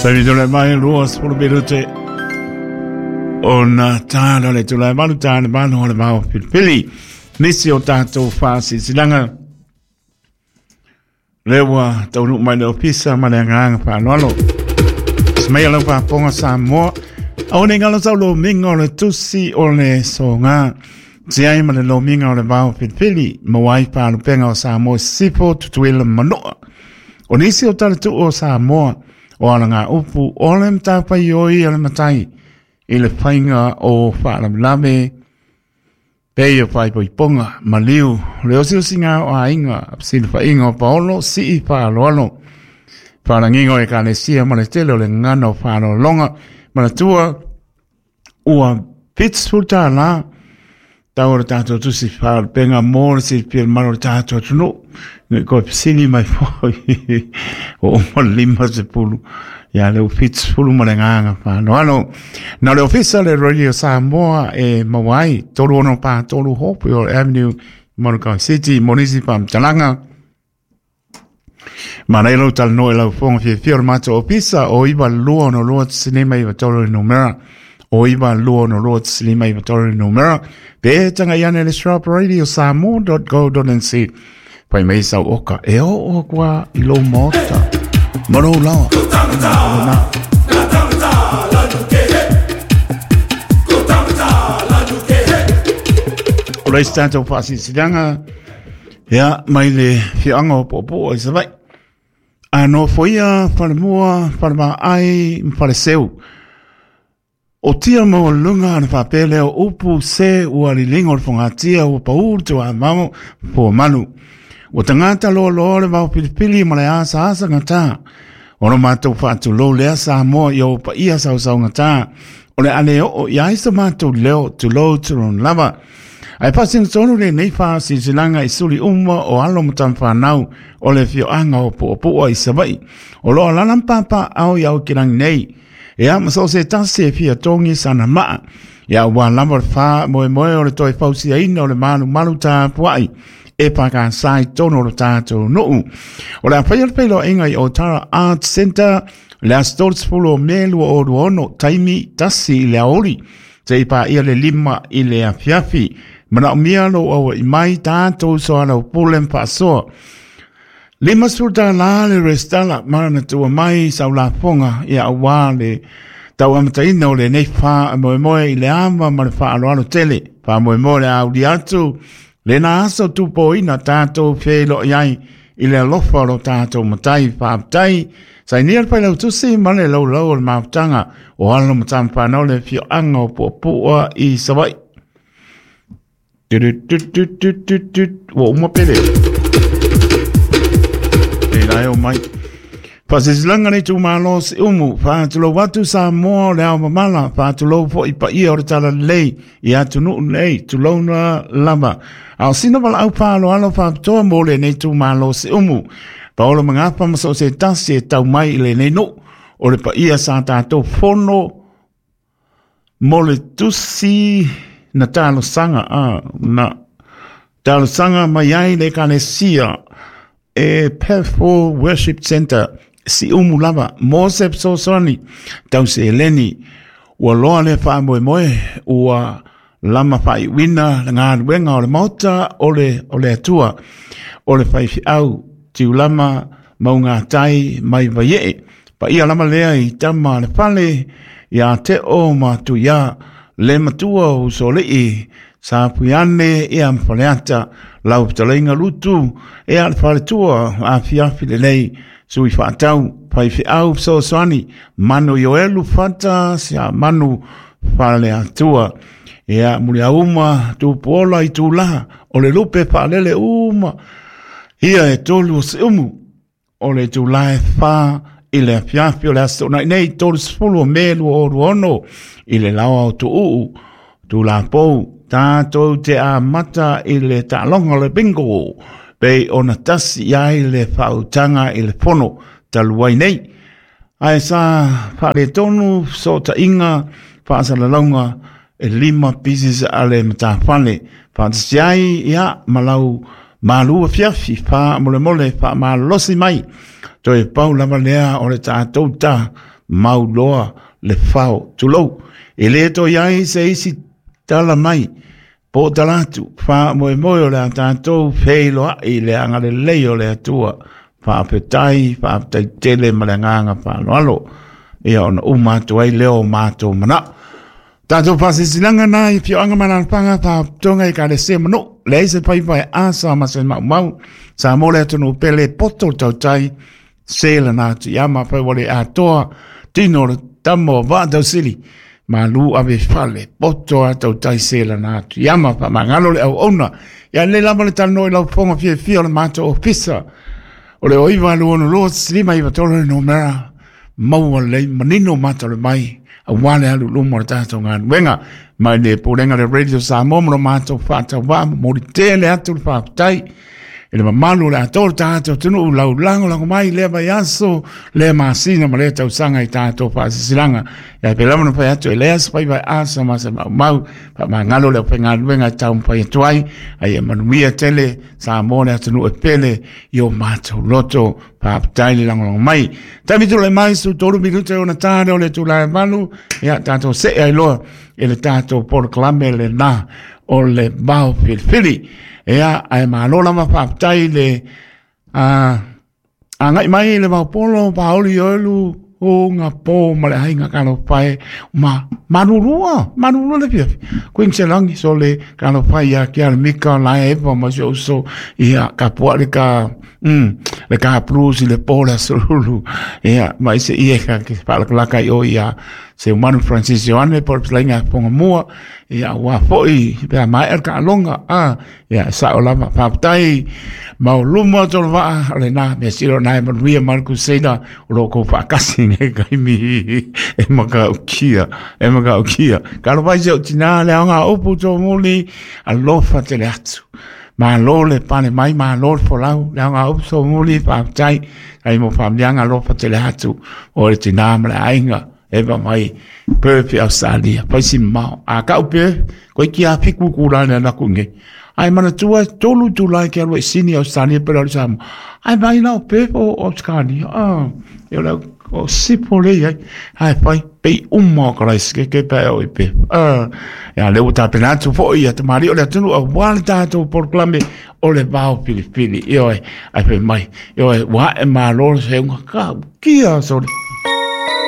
Taimi tole mai 20 minute ona tāna le tula malu tāna malu o le mau pilipili. Nisi o tātou whaasisilaga le ua taunuu mai le ofisa ma le agaga faaaloalo. Semaia lau faafofoga Samoa, aua ne i galo sau lomiga o le tusi o le soga. Tiai ma le lomiga o le vao filifili, maua ai faalupega o Samoa i Sisifo, Tutuila ma Manua. O nisi o talatuu o Samoa, o alagaupu o le matafaioi a le matai i le faiga o faalavelave pei o faaipoipoga, maliu, le osiosiga o aiga, fesilafaiga o paolo, sii faaaloalo, faalagiga o ekalesia ma le tele o le gagana o faaaloaloga. Manatua, ua $70 tau o le tatou tusi faalupega mo le silafia le malu o le tatou atunuu. Ne i koe fesili mai foi o uma le 50, ia le ua 70 ma le agaga faaaloalo. Na o le ofisa le Radio Samoa e maua ai 3643 Hopewell Avenue, Manukau City, mo nisi faamatalaga. Manaia lou talanoa i lau fofoga fiafia o le matou ofisa o 9262 le numera o 9262 le numera pe tagai ane le sharp radio samoa.go.nz fai mai sau oka e oo aku a i lou maota ma lou laoa. O le isi tatou faasilasilaga Ia, mai le afioaga o Puapua i Savaii. A nofoia Falemua, Falevaai ma Faleseu. O tia maualuluga ona faapea lea o upu se ua liliga o le fogatia ua pau le tuamamo fuamalu. Ua tagata loaloa le vao filifili ma le asaasa gata. O lo matou faatulou lea Samoa i ou paia sausaugata. O le a le oo i ai so matou leo tulou tulou lava. Ae faasino tonu lenei faasilasilaga i suli uma o alo ma tamafanau o le afioaga o Puapua i Savaii. O lo o alaala ma papaaao i Aokilangi nei. Ia, ma so o se tasi e fia togi sana maa. Ia, ua lava le faamoemoe o le toe fausiaina o le malumalu tapuai e pakasa i totonu o lo tatou nuu. O le a faia le feiloaiga i Otara Arts Centre le aso 30 o Me 2026, taimi 1 i le aoauli. Seia paia le 5 i le afiafi. Manaomia lou aua'i mai tatou soalaupule ma faasoa. $50 le resitala ma na tua mai sau lafoga ia aua le tau amataina o lenei faamoemoe i le ava ma le faaaloalo tele. Faamoemoe le auli atu lena aso tupoina tatou feiloai ai i le alofa o lo tatou Matai. Faafetai. Sainia le Failautusi ma le laulau o le mafutaga o alo ma tamafanau le afioaga o Puapua i Savaii. Ua uma pele. E la e o mai. Faasilasilaga le itumalo o Siumu, faatulou atu Samoa o le ao mamala, faatulou foi paia o le Talalelei i atunuu nei, tulouna lava. A o sina valaau faaaloalo faapitoa mo lenei itumalo o Siumu. Paolo Magafa ma so o se tasi e tau mai i lenei nuu, o le paia sa tatou fono mo le tusi na talosaga, na talosaga mai ai le Ekalesia e Pathful Worship Center, Siumu lava, mo se fesoasoani tau seleni. Ua loa le faamoemoe, ua lama faaiuina le galuega o le Maota o le, o le Atua, o le faifeau Tiulama Maugatai mai Vaiee. Paia lava lea i tama a le fale, ia Teo ma Tuia, le matua o Usoalii, Sapuiane ia ma Faleata, lau fetalaiga Lutu, ia le faletua afiafi lelei, sui faatau, faifeau fesoasoani, Manu Ioelu Fata, sia Manu Faleatua. Ia Muliauma Tupuola i Tula, o le lupe faalele uma, ia e tolu o Siumu. O le itula e 4 i le afiafi o le aso Toonai nei 30 o Me 2026 i le laoa o Tuuu, Tulapou, tatou te amata i le taaloga o le bingo pei ona tasi i ai le faautaga i le fono talu ai nei. Ae sa faaletonu fesootaiga faasalalauga e 5 pieces a le matafale faatasi ai ia ma lau malu afiafi faamolemole faamalolosi mai. Toe pau lava lea o le tatou ta. mau loa le fao. Tulou, e le toe i ai se isi tala mai po o tala atu, faamoemoe o le a tatou feiloai i le agalelei o le Atua. Faafetai, faafetai tele ma le agaga faaaloalo. Ia ona uma atu ai lea o matou manao. Tatou faasilasilaga na i afioaga ma alaalafaga, faalapotopotoga, ekalesia ma nuu, leai se faiva e asa ma se maumau. Samoa le atunuu pele, poto le tautai, se lana atu ia ma fai ua le atoa tino o le tama o Vaatausili, malu ave fale, poto a tautai se lana atu ia ma faamagalo le auauna. Ia lelei lava le talanoa i lau fofoga fiafia o le matou ofisa o le 0962 593 le numera maua lelei manino mata o le mai aua le alu i luma o le tatou galuega. Mai le Pulega le Radio Samoa ma lo matou faatauvaa momoli tele atu le faafetai i le mamalu o le atoa o le tatou atunuu lau lagolago mai lea vaiaso, lea masina ma lea tausaga i tatou faasilasilaga. Ia pei lava ona fai atu e leai se faiva e asa ma se maumau, faamagalo le aufaigaluega e taumafai atu ai, a ia manuia tele Samoa le atunuu e pele i o matou loto. Faafetai le lagolago mai. Taimi tulai mai su 3 minuta e ona tā lea o le itula e 8, ia tatou see ai loa i le tatou polokalame lena o le vao filifili. Ia, ae malo lava faafetai le agai mai le vaopolo paoli oelu o ngā pō ma le aiga talofa e ma malulua, malulua le fiafi. Koe se langi so le talofa ia ki a Mika la Eva ma si uso ia ka pua le ka le ka blues i le pō le asolulu. Ia ma ise ia ka ke whaalakalaka i o ia se Manu Francis Ioane po le lainga ponga mua ia ua foi pe mai el ka longa a ia sao lava faafetai mau luma o tolo vaa o lena mea sili o na e manuia ma le Crusader o lo o kou faakasi nei kaimi e makaukia e makaukia. Talofa i si ou tinā le aoga upu tōmuli alofa tele atu. Malo le pale mai, malo le folau, le aoga upu tōmuli faafetai ai mo faamliaga alofa tele atu o le tinā ma le aiga. Eva mai Perth i Australia, fai si mamao. A kau Perth, koe ki a fiku ku la le anaku nge. Ai manatua tolu itula ke alu e Sydney Australia pe le Samoa. Ai mai la o Perth o Australia. Ah, e o o sipo le ai. Ai fai pei uma o kalaisi ke ke pe o i Perth. Ah, ia le ua tapena atu foi ia te mari o le atunuu aua le tatou polokalame o le vao filifili. Ioe, ai fai mai. Ioe, ua ae malo le seuga ka kia sole.